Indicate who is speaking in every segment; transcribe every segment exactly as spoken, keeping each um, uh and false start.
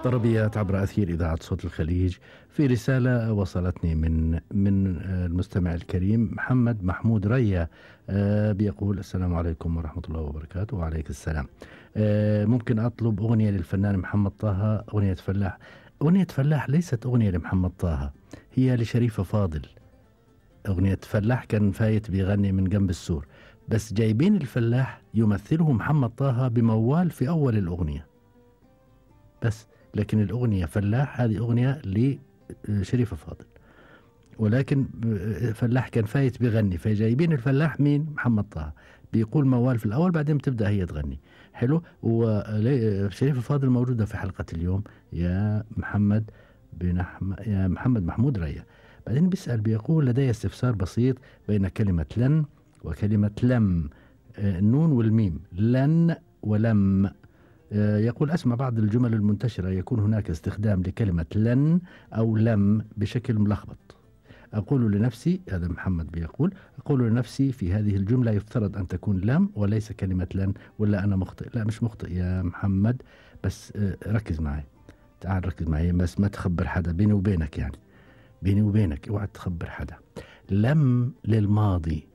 Speaker 1: طربيات عبر أثير إذاعة صوت الخليج. في رسالة وصلتني من من المستمع الكريم محمد محمود ريا، بيقول السلام عليكم ورحمة الله وبركاته. وعليك السلام. ممكن أطلب أغنية للفنان محمد طه، أغنية فلاح. أغنية فلاح ليست أغنية لمحمد طه، هي لشريفة فاضل. أغنية فلاح كان فايت بيغني من جنب السور، بس جايبين الفلاح يمثله محمد طه بموال في أول الأغنية بس، لكن الأغنية فلاح هذه أغنية لشريفة فاضل، ولكن فلاح كان فايت بيغني، فجايبين الفلاح مين؟ محمد طه، بيقول موال في الأول بعدين بتبدأ هي تغني. حلو. وشريفة فاضل موجودة في حلقة اليوم يا محمد بن أحمد يا محمد محمود ريا. بعدين بيسأل بيقول لدي استفسار بسيط بين كلمة لن وكلمة لم، النون والميم، لن ولم. يقول أسمع بعض الجمل المنتشرة يكون هناك استخدام لكلمة لن أو لم بشكل ملخبط. أقول لنفسي، هذا محمد بيقول، أقول لنفسي في هذه الجملة يفترض أن تكون لم وليس كلمة لن، ولا أنا مخطئ؟ لا مش مخطئ يا محمد، بس ركز معي، تعال ركز معي، بس ما تخبر حدا، بيني وبينك يعني، بيني وبينك اوعى تخبر حدا. لم للماضي،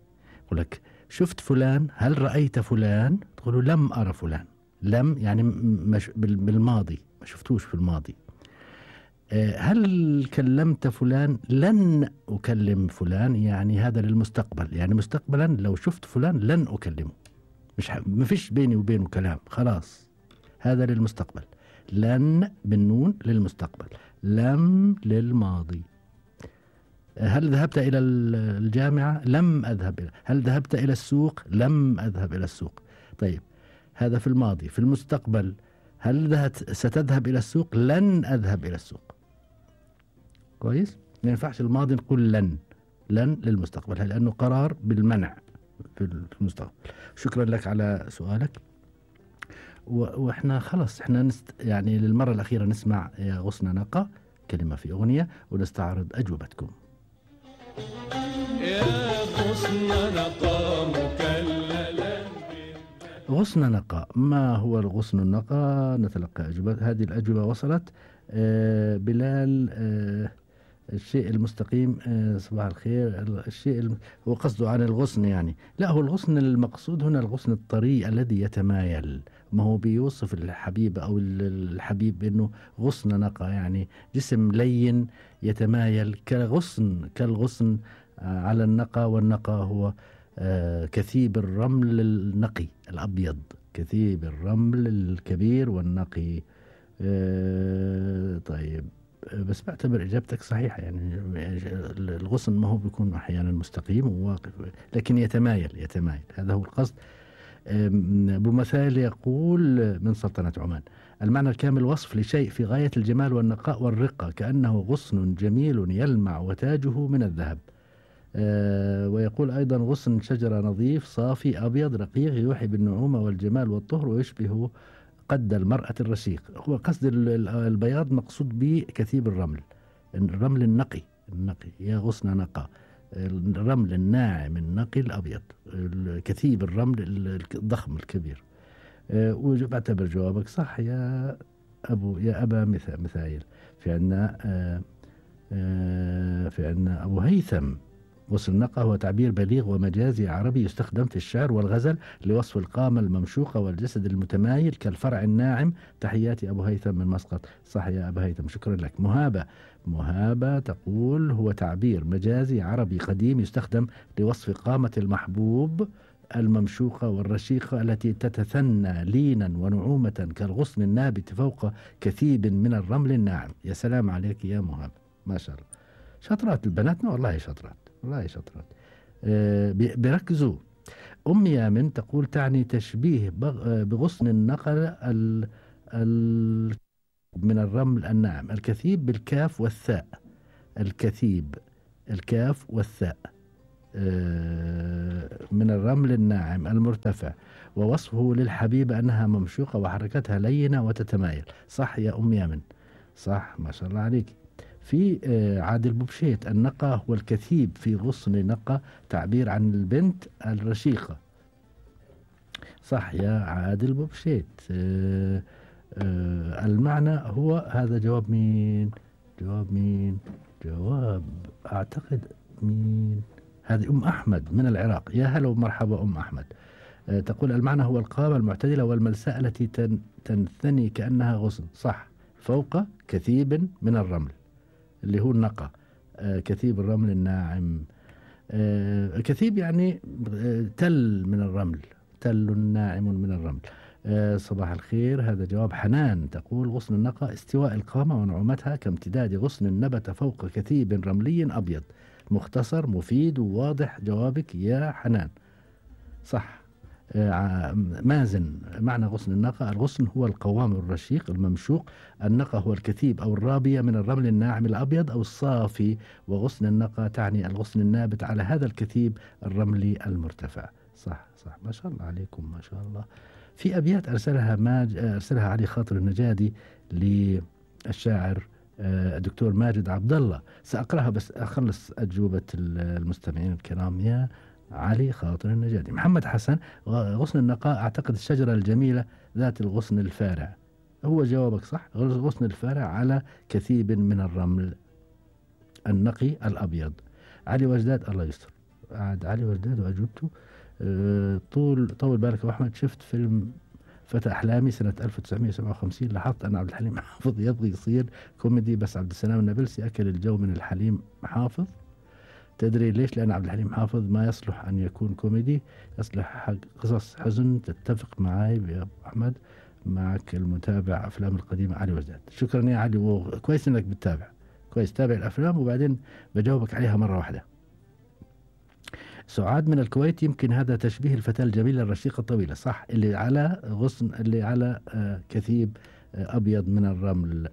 Speaker 1: يقول لك شفت فلان، هل رأيت فلان؟ تقولوا لم أرى فلان. لم يعني مش بالماضي، ما شفتوش في الماضي. هل كلمت فلان؟ لن أكلم فلان، يعني هذا للمستقبل، يعني مستقبلا لو شفت فلان لن أكلمه، مش ح... ما فيش بيني وبينه كلام، خلاص هذا للمستقبل. لن بالنون للمستقبل، لم للماضي. هل ذهبت إلى الجامعة؟ لم أذهب إلى. هل ذهبت إلى السوق؟ لم أذهب إلى السوق. طيب هذا في الماضي. في المستقبل هل ذهبت ستذهب إلى السوق؟ لن أذهب إلى السوق. كويس؟ ما ينفعش الماضي نقول لن، لن للمستقبل لأنه قرار بالمنع في المستقبل. شكرا لك على سؤالك. وإحنا خلص إحنا نست يعني للمرة الأخيرة نسمع يا غصن نقا كلمة في أغنية ونستعرض أجوبتكم.
Speaker 2: يا غصن نقا مكللا.
Speaker 1: غصن نقا، ما هو الغصن النقا؟ نتلقى أجوبة. هذه الأجوبة وصلت. آه بلال، آه الشيء المستقيم، آه صباح الخير. الشيء الم... هو قصده عن الغصن يعني، لا هو الغصن المقصود هنا الغصن الطري الذي يتمايل، ما هو بيوصف الحبيب أو الحبيب بأنه غصن نقا، يعني جسم لين يتمايل كغصن، كالغصن على النقا. والنقا هو آه كثيب الرمل النقي الأبيض، كثيب الرمل الكبير والنقي. آه طيب بس بعتبر إجابتك صحيحة، يعني الغصن ما هو بيكون أحيانا مستقيم وواقف، لكن يتمايل يتمايل، هذا هو القصد. أبو مثال يقول من سلطنة عمان: المعنى الكامل وصف لشيء في غاية الجمال والنقاء والرقة، كأنه غصن جميل يلمع وتاجه من الذهب. أه ويقول أيضا: غصن شجرة نظيف صافي أبيض رقيق يوحي بالنعومة والجمال والطهر ويشبه قد المرأة الرشيق. هو قصد البياض مقصود به كثيب الرمل، الرمل النقي النقي يا غصن نقا، الرمل الناعم النقي الأبيض، كثيب الرمل الضخم الكبير. أه وبعتبر جوابك صح يا أبو يا أبا مثايل. في عندنا أه أه في عندنا أبو هيثم: غصن نقا هو تعبير بليغ ومجازي عربي يستخدم في الشعر والغزل لوصف القامة الممشوقة والجسد المتمايل كالفرع الناعم. تحياتي أبو هيثم من مسقط. صح يا أبو هيثم، شكرا لك. مهابة مهابة تقول: هو تعبير مجازي عربي قديم يستخدم لوصف قامة المحبوب الممشوقة والرشيقة التي تتثنى لينا ونعومة كالغصن النابت فوق كثيب من الرمل الناعم. يا سلام عليك يا مهابة، ما شاء الله، شطرات البنات، والله شطرات والله شطرات. أه بيركزوا. أم يامن تقول: تعني تشبيه بغصن النقل ال ال من الرمل الناعم. الكثيب بالكاف والثاء، الكثيب الكاف والثاء أه من الرمل الناعم المرتفع، ووصفه للحبيبة أنها ممشوقة وحركتها لينة وتتمايل. صح يا أم يامن، صح، ما شاء الله عليك. في عادل بوبشيت: النقا هو الكثيب في غصن نقا، تعبير عن البنت الرشيقة. صح يا عادل بوبشيت. آه المعنى هو هذا جواب مين؟ جواب مين؟ جواب أعتقد مين؟ هذه أم أحمد من العراق. يا هلا ومرحبا أم أحمد. آه تقول المعنى هو القامة المعتدلة والملساء التي تن تنثني كأنها غصن. صح، فوق كثيب من الرمل اللي هو النقى. آه كثيب الرمل الناعم. آه كثيب يعني آه تل من الرمل، تل ناعم من الرمل. آه صباح الخير. هذا جواب حنان. تقول غصن النقى استواء القامة ونعومتها كامتداد غصن نبت فوق كثيب رملي أبيض. مختصر مفيد وواضح جوابك يا حنان. صح. آه مازن. معنى غصن النقى: الغصن هو القوام الرشيق الممشوق، النقى هو الكثيب أو الرابية من الرمل الناعم الأبيض أو الصافي، وغصن النقى تعني الغصن النابت على هذا الكثيب الرملي المرتفع. صح صح، ما شاء الله عليكم ما شاء الله. في أبيات أرسلها ماج أرسلها علي خاطر النجادي للشاعر الدكتور ماجد عبد الله، سأقرأها بس أخلص أجوبة المستمعين الكرام. يا علي خاطر النجادي. محمد حسن: غصن النقاء أعتقد الشجرة الجميلة ذات الغصن الفارع. هو جوابك صح، غصن الفارع على كثيب من الرمل النقي الأبيض. علي وجداد، الله يستر، عاد علي وجداد وأجوبته. أه طول طول بالك أبو أحمد. شفت فيلم فتى أحلامي سنة ألف وتسعمائة وسبعة وخمسين، لاحظت أن عبد الحليم حافظ يبغي يصير كوميدي بس عبد السلام النابلسي أكل الجو من الحليم حافظ. تدري ليش؟ لأن عبد الحليم حافظ ما يصلح أن يكون كوميدي، يصلح حق قصص حزن. تتفق معي يا أبو أحمد، معك المتابع أفلام القديمة علي وجداد. شكرا يا علي، وكويس أنك بتتابع، كويس تابع الأفلام وبعدين بجاوبك عليها مرة واحدة. سعاد من الكويت: يمكن هذا تشبيه الفتاة الجميلة الرشيقة الطويلة. صح، اللي على غصن، اللي على آه كثيب آه أبيض من الرمل،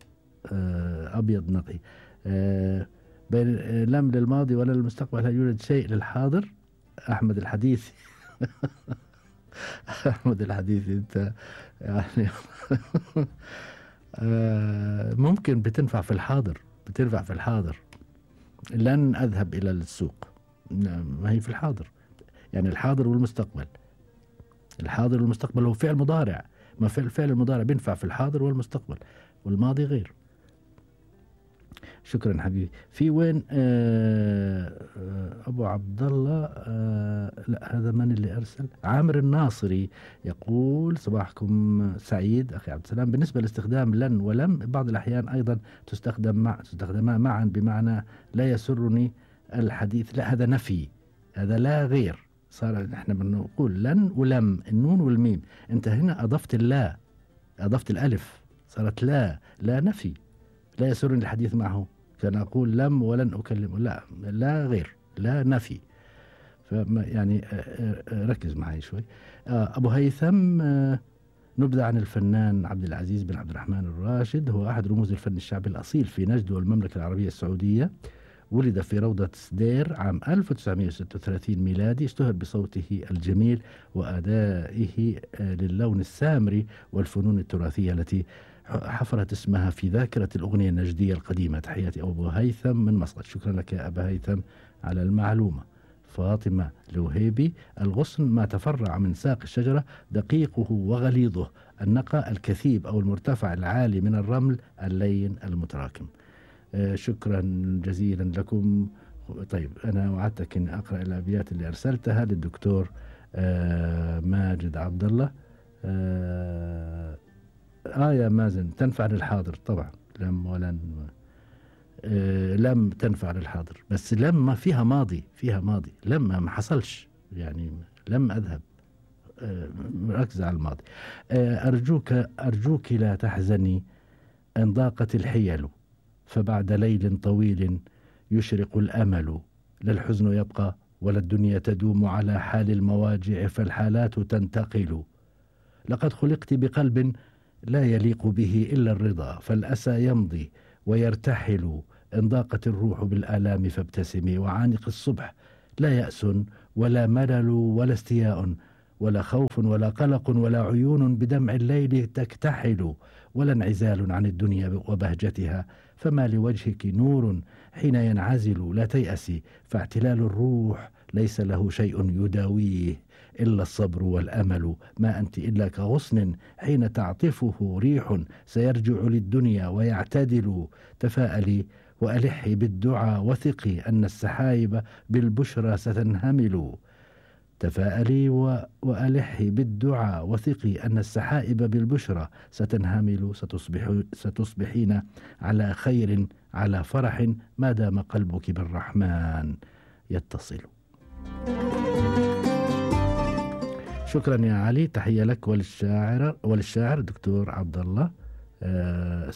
Speaker 1: آه أبيض نقي. آه بين آه لم للماضي ولا للمستقبل، هل يوجد شيء للحاضر؟ أحمد الحديثي. أحمد الحديثي أنت يعني آه ممكن بتنفع في الحاضر، بتنفع في الحاضر. لن أذهب إلى السوق، ما هي في الحاضر، يعني الحاضر والمستقبل. الحاضر والمستقبل هو فعل مضارع، ما فعل الفعل المضارع بينفع في الحاضر والمستقبل، والماضي غير. شكرا حبيبي. في وين آه آه أبو عبد الله؟ آه لا، هذا من اللي أرسل؟ عامر الناصري يقول: صباحكم سعيد أخي عبد السلام. بالنسبة لاستخدام لن ولم، بعض الأحيان أيضا تستخدم مع تستخدمان معا بمعنى لا يسرني الحديث. لا، هذا نفي، هذا لا غير. صار احنا بنقول لن ولم، النون والميم، انت هنا اضفت اللا، اضفت الالف، صارت لا. لا نفي، لا يسرني الحديث معه، كان اقول لم ولن اكلمه. لا، لا غير، لا نفي. فما يعني ركز معي شوي. ابو هيثم: نبذة عن الفنان عبد العزيز بن عبد الرحمن الراشد، هو احد رموز الفن الشعبي الاصيل في نجد والمملكة العربية السعودية. ولد في روضة سدير عام ألف وتسعمائة وستة وثلاثين ميلادي. اشتهر بصوته الجميل وأدائه للون السامري والفنون التراثية التي حفرت اسمها في ذاكرة الأغنية النجدية القديمة. تحياتي أبو هيثم من مسقط. شكرا لك يا أبا هيثم على المعلومة. فاطمة الوهيبي: الغصن ما تفرع من ساق الشجرة، دقيقه وغليظه، النقى الكثيب أو المرتفع العالي من الرمل اللين المتراكم. آه شكرا جزيلا لكم. طيب أنا وعدتك أن أقرأ الأبيات اللي أرسلتها للدكتور آه ماجد عبد الله. آه, آه يا مازن، تنفع للحاضر طبعا، لم ولن. آه لم تنفع للحاضر، بس لم ما فيها ماضي، فيها ماضي. لم ما حصلش، يعني لم أذهب. آه ركز على الماضي. آه أرجوك أرجوك لا تحزني إن ضاقت الحيل، فبعد ليل طويل يشرق الأمل. لا الحزن يبقى ولا الدنيا تدوم على حال المواجع، فالحالات تنتقل. لقد خلقت بقلب لا يليق به إلا الرضا، فالأسى يمضي ويرتحل. إن ضاقت الروح بالآلام فابتسمي، وعانق الصبح لا يأس ولا ملل ولا استياء، ولا خوف ولا قلق ولا عيون بدمع الليل تكتحل، ولا انعزال عن الدنيا وبهجتها، فما لوجهك نور حين ينعزل. لا تيأسي، فاعتلال الروح ليس له شيء يداويه إلا الصبر والأمل. ما أنت إلا كغصن حين تعطفه ريح سيرجع للدنيا ويعتدل. تفاءلي وألحي بالدعاء وثقي أن السحائب بالبشرى ستنهمل. تفاءلي وألحي بالدعاء وثقي أن السحائب بالبشرى ستنهمل. ستصبح ستصبحين على خير على فرح ما دام قلبك بالرحمن يتصل. شكرا يا علي، تحية لك وللشاعر وللشاعر دكتور عبد الله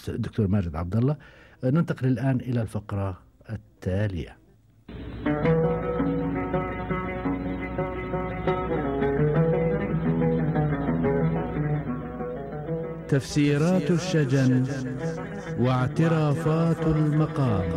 Speaker 1: دكتور ماجد عبد الله. ننتقل الآن إلى الفقرة التالية. تفسيرات الشجن واعترافات المقام.